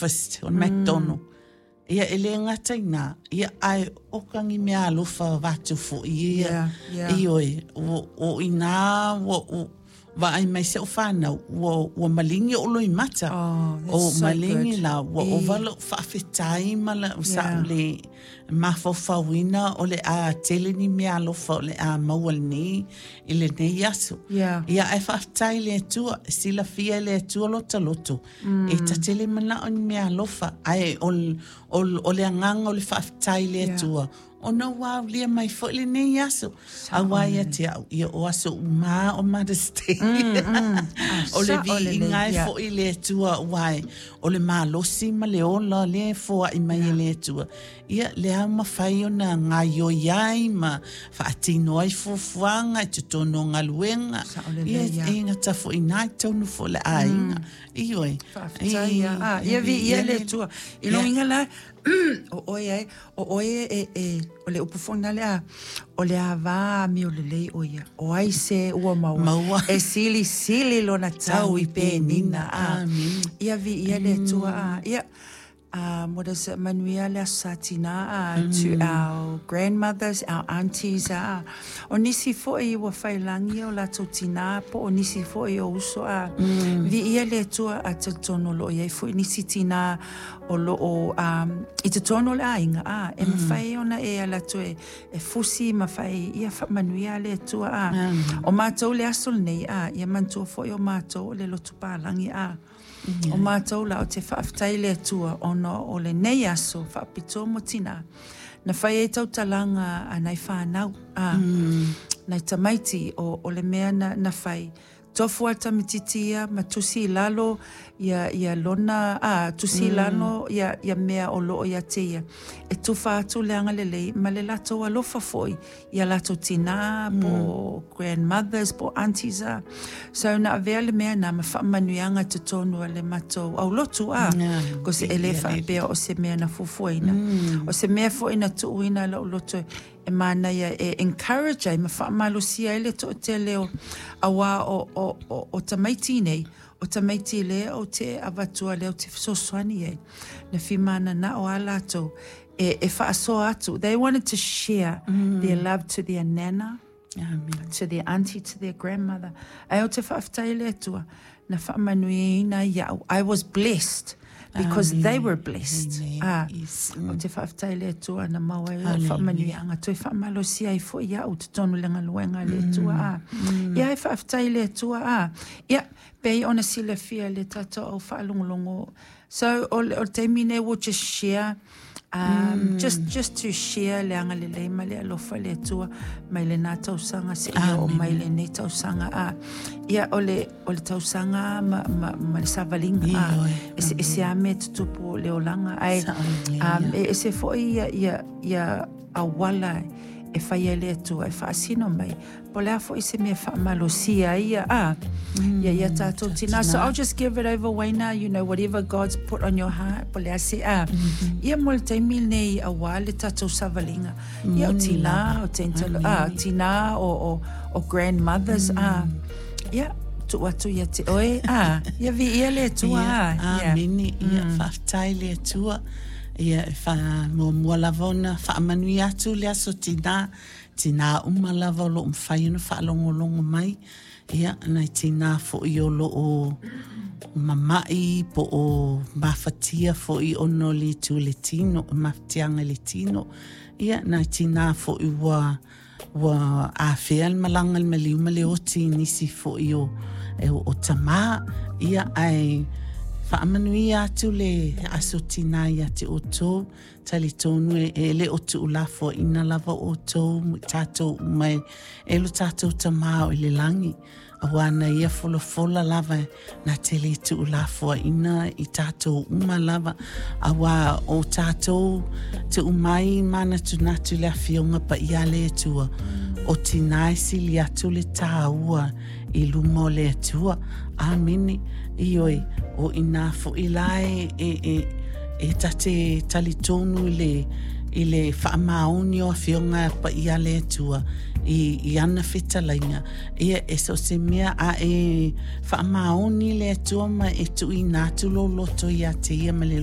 Breakfast o le McDonald. Ia, e le gata i lena, ia, ae oka ni meaalofa avatu foi ia. Ioe, o i ina ua ou vaai mai si au fanau, ua maligi ou loimata. Oh, that's so maligi good. La, ua ova lou faafetai ma la, sa ou le mafaufauina o le a tele ni meaalofa o le a maua lenei i lenei aso. Ia, ae faafetai i le Atua, e silafia e le Atua lota loto. E ta te le manao i ni meaalofa, ae o le agaga o le faafetai i le Atua, ona ua aulia mai foi lenei aso. Aua ia te au, ia o aso uma lava o Mother's Day. O le viiga e foi i le Atua, aua o le malosi ma le ola lea e foai mai e le Atua. Ia, lea ua mafai ona gaoioi ai ma faatino ai fuafuaga i totonu o galuega. Ia, e gata foi i ina i totonu foi o le aiga. Ioe. Faafetai lava. Ah, ia viia le Atua. I lou uiga la, o oe ai, o oe e, e, o le upu foi lena lea, o le ava amio lelei ʻo ia. O ai se ua maua, maua. E silisili lona tau i penina. Ah, ia viia le Atua. Ah, ia, what is it, manuia le Aso Sa Tinā to our grandmothers, our aunties, o nisi foi ua faiilagi o latou tinā po o nisi foi o uso, viia le Atua a talitonu o lo o i ai foi nisi tinā o lo o i totonu o le aiga, e mafai ona e ala atu e fusi ma fai, ia faamanuia le Atua. O matou le aso lenei, ia manatua foi o matou o le lotu palagi, o matou la ou te faafetai i le Atua ona o lenei aso faapitoa mo tinā na fai ai tautalaga a nai fanau, nai tamaiti o le mea na fai. Tofu lava le tamaitiiti ia ma tusi i lalo ia, ia lona, tusi i lalo ia, ia mea o lo o ia te ia, e tufa atu le agalelei ma le latou alofa foi ia latou tinā po o grandmothers po o aunties a. So na avea le mea na ma faamanuiaga i totonu o le matou aulotu a. Cause e le faapea o se mea na fuafuaina. O se mea foi na tuuina i lou loto e manaia e encourage ai ma faamalosia ai le toatele o aua o tamaiti nei, o tamaiti lea ou te avatua lea ou te fesoasoani ai. Na fia mananao lava latou e faasoa atu. They wanted to share their love to their nana, to their auntie, to their grandmother. Ae ou te faafetai i le Atua na faamanuiaina ai iaʻu. I was blessed because they were blessed. Ah, ou te faafetai i le Atua na maua ai lau faamanuiaga toe faamalosia ai foi iaʻu i totonu o le galuega a le Atua. Ah, ia e faafetai i le Atua. Ah, ia, pei ona silafia e le tatou au faalogologo. So, o le taimi nei we'll just share just to share le agalelei ma le alofa le Atua mai lena tausaga seia oo mai lenei tausaga. A ia o le tausaga ma le savaliga a eseese lava mea e tutupu o le olaga ae e ese foi ia auala e fai ai le Atua e faasino mai po o le a foi se mea e faamalosia ai ia, ia tatou tinā. So I'll just give it over, Wayna, whatever God's put on your heart, po o le a se, ia mo le taimi lenei aua le tatou savaliga. Ia o tinā, o tentalo, tinā, o grandmothers, ia, tuu atu ia te oe, ia viia le Atua. Ia, amene, ia, faafetai i le Atua. Ia, e faamuamua lava ona faamanuia atu le aso tinā, tinā uma lava o lo o mafai ona faalogologo mai, ia, nai tinā foi o lo o mama'i po o mafatia foi ona o le itu i le tino, mafatiaga i le tino, ia, nai tinā foi ua afea le malaga i le maliu ma le oti i nisi foi o tamā, ia, ae faamanuia atu le aso tinā ia te outou. Talitonu e le o tuulafoaiina lava outou ma tatou uma e lo tatou Tama o i le lagi, aua na ia folafola lava na te le tuulafoaiina i tatou uma lava, aua o tatou tuu mai manatunatu i le Afioga Paia a le Atua, o tinā e sili atu le tāua i luma o le Atua. Āmene. Ioe, o inā foi la e ta te talitonu i le faamaoni o Afioga Paia a le Atua i ana fetalaiga, ia e so o se mea a e faamaoni le Atua ma e tuuina atu lou loto ia te ia ma le loto.